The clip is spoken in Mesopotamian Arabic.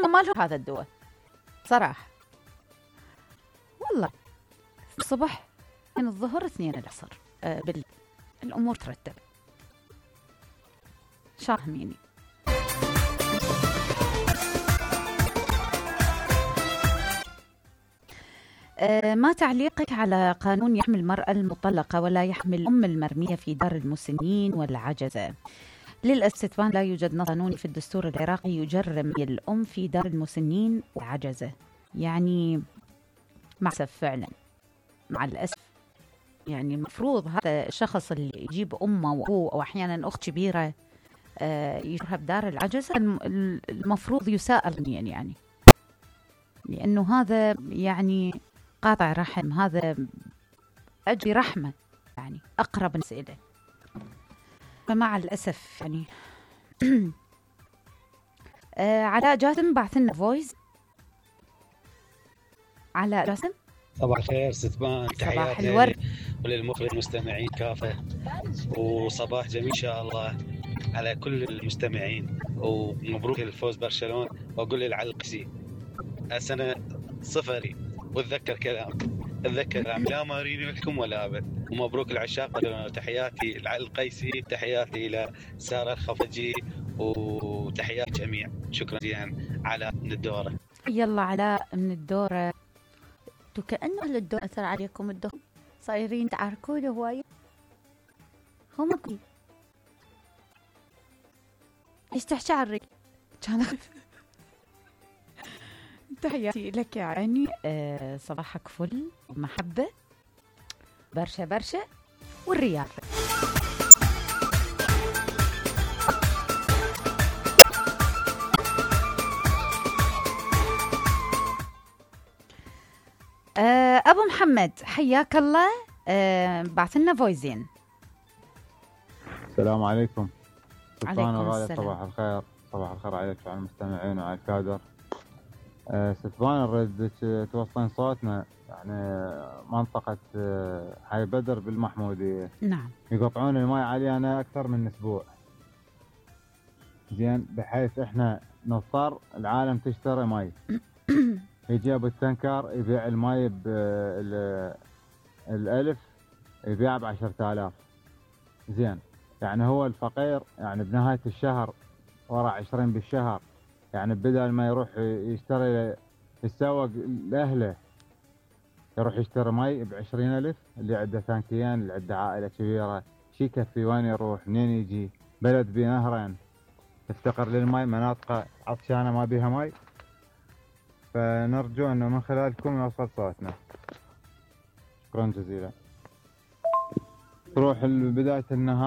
ما لهم هذا الدواء صراحة. والله الصبح من الظهر 2 العصر بالليل الأمور ترتب. شاهميني. ما تعليقك على قانون يحمي المرأة المطلقة ولا يحمي الأم المرمية في دار المسنين والعجزة؟ للأسف لا يوجد نص قانوني في الدستور العراقي يجرم الأم في دار المسنين والعجزة. يعني مع الأسف فعلا، مع الأسف يعني المفروض هذا الشخص اللي يجيب أمه وأبوه أو أحيانا أخت كبيرة يجرها بدار العجزة المفروض يساءل يعني لأنه هذا يعني قاطع رحم، هذا أجري رحمة يعني أقرب الناس إليه. فمع الأسف يعني علاء جاسم بعث لنا فويس. علاء جاسم صباح الخير ستبان، صباح الورد وللمخرج المستمعين كافة، وصباح جميل إن شاء الله على كل المستمعين، ومبروك الفوز برشلونة. وأقول للعلقسي السنة صفري واتذكر كلام لا مارينيو لكم ولا أبد. ومبروك العشاق، تحياتي القيسي، تحياتي إلى سارة الخفجي، وتحيات جميع. شكرا جزيلا علاء من الدورة. يلا علاء من الدورة. كأنه أهل الدورة أثر عليكم الدور، صايرين تعاركون هواية. هو مقبل ايش تحكي عنك؟ تحياتي لك يا عيني. صباحك فل محبة برشا برشا والرياض. أبو محمد حياك الله. بعث لنا فويزين. السلام عليكم. عليكم السلام. صباح الخير. صباح الخير عليك وعلى المستمعين وعلى الكادر. ستبان نريد توصلين صوتنا يعني منطقة حي بدر بالمحمودية. نعم. يقطعون الماء علينا أكثر من أسبوع. زين، بحيث إحنا نضطر العالم تشتري ماء. يجي أبو التنكر يبيع الماء بالألف، يبيع ب10,000. زين، يعني هو الفقير يعني بنهاية الشهر ورا 20 بالشهر، يعني بدل ما يروح يشتري يتسوق لأهله يروح يشتري ماء ب20,000. اللي عنده ثانكيين، اللي عنده عائلة كبيرة، شي يكفي؟ وين يروح؟ منين يجي؟ بلد بنهرين تفتقر للماء، مناطق عطشانة ما بيها ماء. فنرجو أنه من خلالكم يوصل صوتنا. شكرا جزيلا. تروح بداية النهار